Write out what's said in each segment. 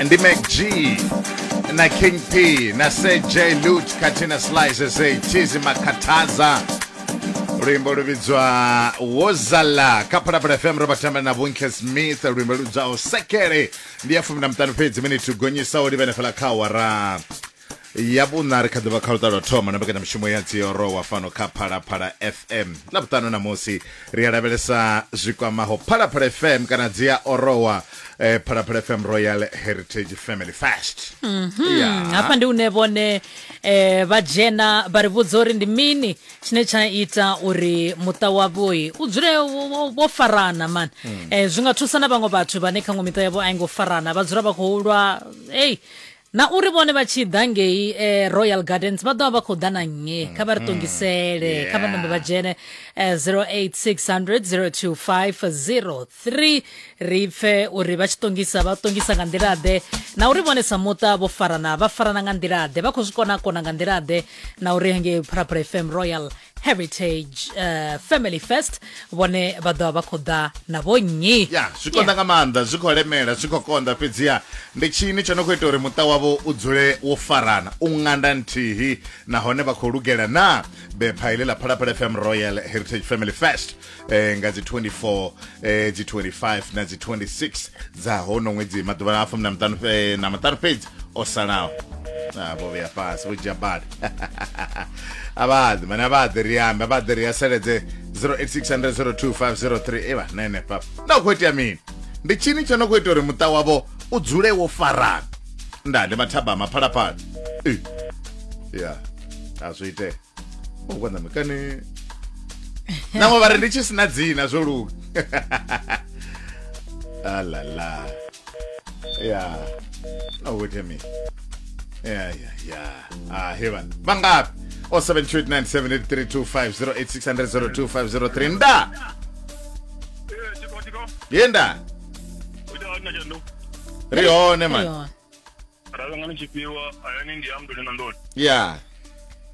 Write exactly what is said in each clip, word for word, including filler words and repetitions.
Ndi Mac G na King P na C J Lut khathihi na Slice S A Chizi Makhathaza, luimbo lu vhidzwa Wozala kha Phalaphala F M. Ro vha tamba na Vhuntle Smith, luimbo lu vhidzwaho Sekele. Ndi ya fumi na muṱanu fhedzi miniti u gonyisa u livhene fhala kha awara ya vhuṋa. Ri kha ḓivha kha luṱa lwa thoma na mbekanyamushumo ya Dziorowa fhano kha Phalaphala F M. Ḽa vhuṱanu namusi ri a lavhelesa zwi kwamaho Phalaphala F M kana dzi a orowa, eh, Phalaphala F M Royal Heritage Family Fest. Mm, hafha ndi une vhone eh, vha dzhena vha ri vhudza uri ndi mini tshine tsha ita uri muṱa wavhoi u dzule wo- wo wo farana man. eh, zwi nga thusa na vhaṅwe vhathu vhane kha ṅwe miṱa yavho a i ngo farana, vha dzula vha khou lwa. Ei, na uri vhone vha tshi ḓa ngei eh, Royal Gardens vha ḓo vha vha khou ḓa na nnyi? Kha vha ri ṱongisele, kha vha nambe vha dzhene eh, zero eight six zero zero zero two five zero three, ri pfe uri vha tshi ṱongisa vha ṱongisa nga nḓila ḓe, na uri vhone sa muṱa vho farana vha farana nga nḓila ḓe, vha khou zwi kona kona nga nḓila ḓe, na uri hangei Phalaphala F M Royal Heritage uh, Family Fest vhone vha ḓo vha vha khou ḓa na vhonnyi. Ya, zwi konḓa nga maanḓa, zwi khou lemela, zwi khou konḓa, fhedziha ndi tshini tsho no khou ita uri muṱa wavho u dzule wo farana u ṅanda nthihi, nahone vha khou lugela na bepha iḽi ḽa Phalaphala F M Royal Heritage Family Fest eh, nga dzi twenty-four, eh, dzi twenty-five na dzi twenty-six dza hono ṅwedzi, maḓuvha a fumi na maṱanu eh, na maṱanu fhedzi o salaho. Ah, vho vhuya fhasi, vho dzhia bada, a vha ḓi mane, a vha ḓi ri ambe, a vha ḓi ri aseledze zero eight six zero zero two five zero three. Eva na henefha na u khou itea mini? Ndi tshini tsho no khou ita uri muṱa wavho u dzule wo farana? Nda ndi mathabama Phalaphala. Eh, ya a zwi itea u konḓa kani nangwe vha ri ndi tshi sina dzina zwo luga. Alala ya na u khou itea mini? Ya ya ya ah, he vhana vhangafhi? oh seven two eight nine seven eight three two five, zero eight six zero zero two five zero three. Nda ye nda ri hone man. Yo. Ravhangani tshifhiwa hayani ndi amndoni na ndoni. Ya.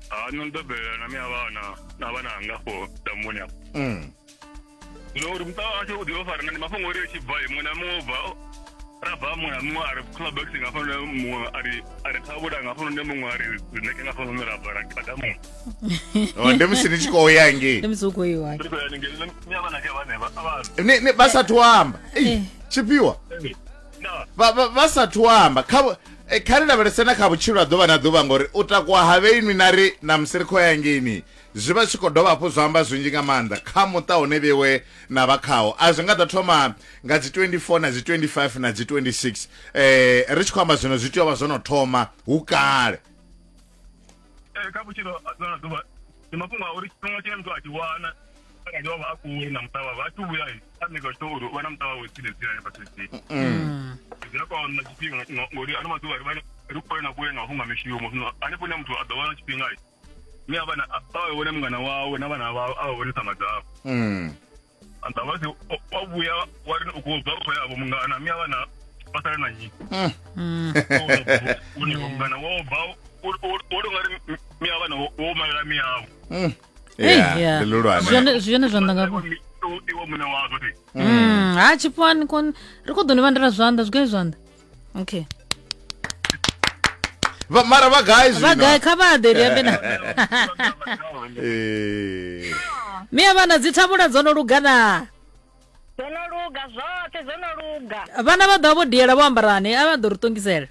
Ha nṋe ndo bebela na miya vhana na vhana anga afho damuni afho. mm. Zwino uri muṱa washu u ḓivha farana ndi mafhungo uri tshi bva muṅwe na muṅwe u bva ra bva, muṅwe na muṅwe a ri clubx nga hafhanoni, muṅwe a ri a ri thavhula nga hafhanoni, muṅwe a ri zineke nga hafhanoni, ra bva ra ra damuni. Oh, ndi musi ni tshi khou ya ngei? Ndi musi u khou iwa. Ri khou ya haningei miya vhana ke vhane vha vha Ni- ni- vha sathu amba. Ei, tshifhiwa na vha vha- vha sathu amba kha vhu- eh, kha ri lavhelese na kha vhutshilo ha ḓuvha na ḓuvha, ngori u takuwa ha vheinwi na ri na musi ri khou ya ngeini zwi vha zwi khou dovha hafhu zwa amba zwinzhi nga maanḓa kha muṱa une vhewe na vha khawo. A zwi nga ḓo thoma nga dzi twenty-four na dzi twenty-five na dzi twenty-six, eh ri tshi khou amba zwino zwi tea u vha zwo no thoma hu kale. Eh, kha vhutshilo ha ḓuvha na ḓuvha ndi mafhungo a uri tshifhinga tshine muthu a tshi wana arali wa vha a kule na muṱa wawe, a tshi vhuya a nika tshi uri u vha na muṱa wawe tsini tsini hanefha tsini, zwi a konḓa tshifhinga ngo- ngori ano maḓuvha ri vha ri kule na kule nga mafhungo a mishumo. Zwino hanefho hune muthu a ḓo wana tshifhinga mi a vhana a vha vhone mungana wawe na vhana vhawe, a vha vhone ṱhama dzavho. mm. Anda vha si wa vhuya wa ri u khou bva u khou ya vho mungana, mi a vhana vha sale na nnyi? Une mungana wo bva wo tou nga ri mi a vhana wo malela miyavho. Mm. Ei, Yeah, ya. ndi luhulwane. Zwone zwone zwanḓa nga Iwe muṋe wazwo ti. Mm, ha tshifhiwani kon ri khou ḓo ni vhandela zwanḓa zwi gai zwanḓa, okay. Vha- mara vha gai Vha zwino? gai? Kha vha ḓe ri ambe na Eh. miya vhana. Dzi thavhula dzo no luga na? Dzo no luga zwoṱhe, dzo no luga. Vhana vha ḓo vha vho diela vho ambarani? A vha ḓo ri ṱongisela.